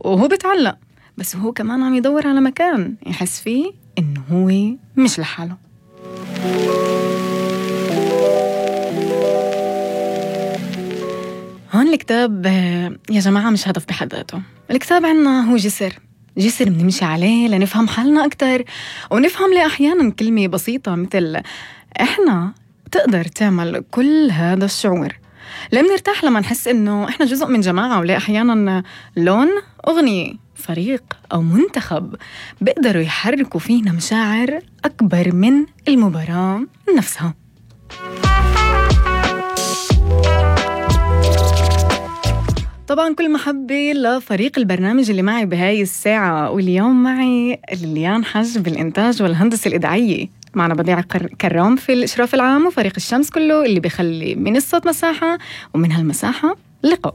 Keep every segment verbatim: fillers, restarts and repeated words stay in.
وهو بتعلق، بس هو كمان عم يدور على مكان يحس فيه إنه هو مش لحاله. هون الكتاب يا جماعة مش هدف بحد ذاته. الكتاب عنا هو جسر جسر بنمشي عليه لنفهم حالنا أكتر، ونفهم ليه أحيانا كلمة بسيطة مثل إحنا تقدر تعمل كل هذا الشعور. ليه بنرتاح لما نحس إنه إحنا جزء من جماعة، وليه أحيانا لون أغنية، فريق أو منتخب بيقدروا يحركوا فينا مشاعر أكبر من المباراة نفسها. طبعاً كل محبة لفريق البرنامج اللي معي بهاي الساعة، واليوم معي ليليان حج بالإنتاج والهندسة الإذاعية، معنا بديع كرام في الإشراف العام، وفريق الشمس كله اللي بيخلي من الصوت مساحة ومن هالمساحة لقاء.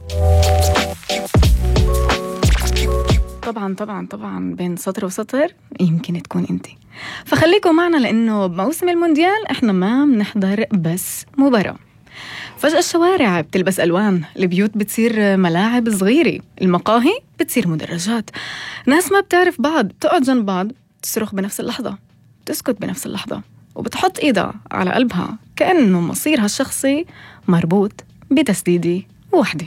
طبعاً طبعاً طبعاً بين سطر وسطر يمكن تكون أنتي، فخليكم معنا لأنه بموسم المونديال إحنا ما بنحضر بس مباراة. فجأة الشوارع بتلبس ألوان، البيوت بتصير ملاعب صغيرة، المقاهي بتصير مدرجات، ناس ما بتعرف بعض بتقعد جنب بعض، تصرخ بنفس اللحظة، تسكت بنفس اللحظة، وبتحط إيدها على قلبها كأنه مصيرها الشخصي مربوط بتسديدة واحدة.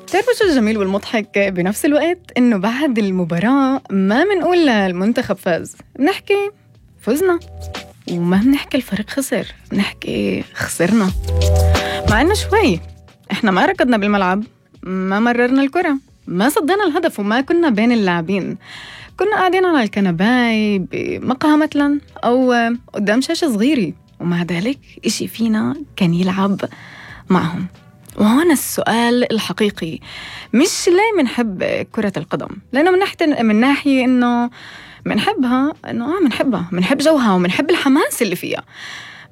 تعرفوا شو الجميل والمضحك بنفس الوقت؟ إنه بعد المباراة ما منقول المنتخب فاز، بنحكي فزنا، وما بنحكي الفريق خسر، بنحكي خسرنا. مع إنه شوي إحنا ما ركضنا بالملعب، ما مررنا الكرة، ما صدينا الهدف، وما كنا بين اللاعبين، كنا قاعدين على الكنباي بمقهى مثلا أو قدام شاشة صغيرة، ومع ذلك إشي فينا كان يلعب معهم. وهنا السؤال الحقيقي، مش ليه منحب كرة القدم، لأنه من ناحية من ناحية إنه منحبها، إنه آه منحبها، منحب جوها ومنحب الحماس اللي فيها،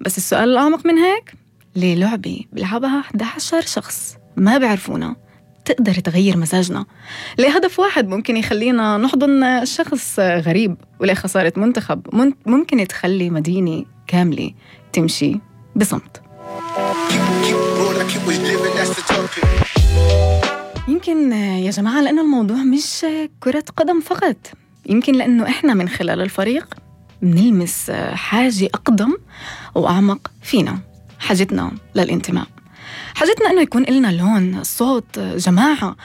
بس السؤال الأعمق من هيك، ليه لعبة بلعبها أحد عشر شخص ما بعرفونا تقدر تغير مزاجنا؟ ليه هدف واحد ممكن يخلينا نحضن شخص غريب؟ وليه خسارة منتخب ممكن تخلي مدينة كاملة تمشي بصمت؟ يمكن يا جماعة لأنه الموضوع مش كرة قدم فقط، يمكن لأنه إحنا من خلال الفريق بنلمس حاجة أقدم وأعمق فينا، حاجتنا للانتماء، حاجتنا أنه يكون لنا لون، صوت، جماعة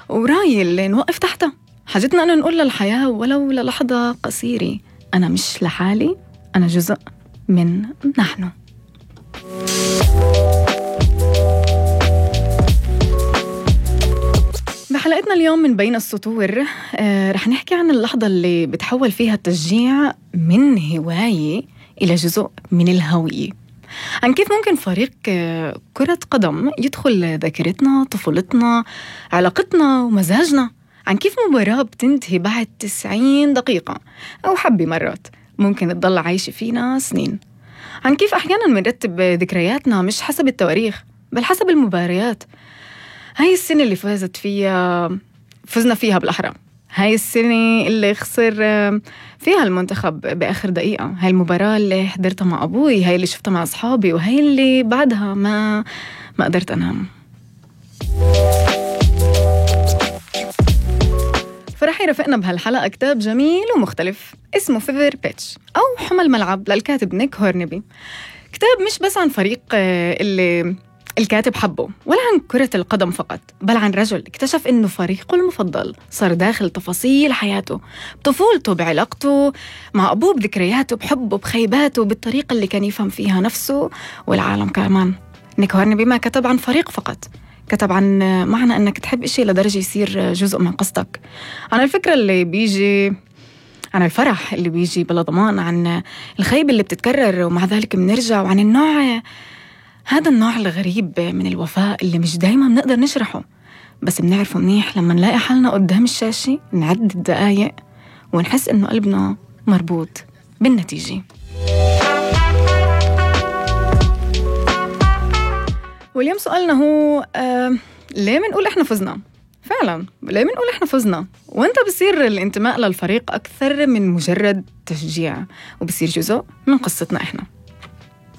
وراي اللي نوقف تحتها، حاجتنا أنه نقول للحياة ولو للحظة قصيرة أنا مش لحالي، أنا جزء من نحن. بحلقتنا اليوم من بين السطور آه رح نحكي عن اللحظة اللي بتحول فيها التشجيع من هواية إلى جزء من الهوية، عن كيف ممكن فريق آه كرة قدم يدخل ذاكرتنا، طفولتنا، علاقتنا ومزاجنا، عن كيف مباراة بتنتهي بعد تسعين دقيقة أو حبة مرات ممكن تضل عايشة فينا سنين، عن كيف أحياناً منرتب ذكرياتنا مش حسب التواريخ بل حسب المباريات. هاي السنة اللي فازت فيها فزنا فيها بالأحرى، هاي السنة اللي خسر فيها المنتخب بآخر دقيقة، هاي المباراة اللي حضرتها مع أبوي، هاي اللي شفتها مع أصحابي، وهاي اللي بعدها ما ما قدرت أنام. فرح يرافقنا بهالحلقة كتاب جميل ومختلف اسمه فيفر بيتش أو حمى الملعب للكاتب نيك هورنبي. كتاب مش بس عن فريق اللي الكاتب حبه، ولا عن كرة القدم فقط، بل عن رجل اكتشف إنه فريقه المفضل صار داخل تفاصيل حياته، بطفولته، بعلاقته مع أبوه، بذكرياته، بحبه، بخيباته، بالطريقة اللي كان يفهم فيها نفسه والعالم كمان. نيك هورنبي ما كتب عن فريق فقط، كتب عن معنى أنك تحب إشي لدرجة يصير جزء من قصتك، عن الفكرة اللي بيجي، عن الفرح اللي بيجي بلا ضمان، عن الخيبة اللي بتتكرر ومع ذلك بنرجع، وعن النوع هذا النوع الغريب من الوفاء اللي مش دايما بنقدر نشرحه، بس بنعرفه منيح لما نلاقي حالنا قدام الشاشة نعد الدقايق ونحس إنه قلبنا مربوط بالنتيجة. واليوم سؤالنا هو آه ليه منقول إحنا فزنا؟ فعلا ليه منقول إحنا فزنا؟ وانت بصير الانتماء للفريق أكثر من مجرد تشجيع، وبصير جزء من قصتنا إحنا.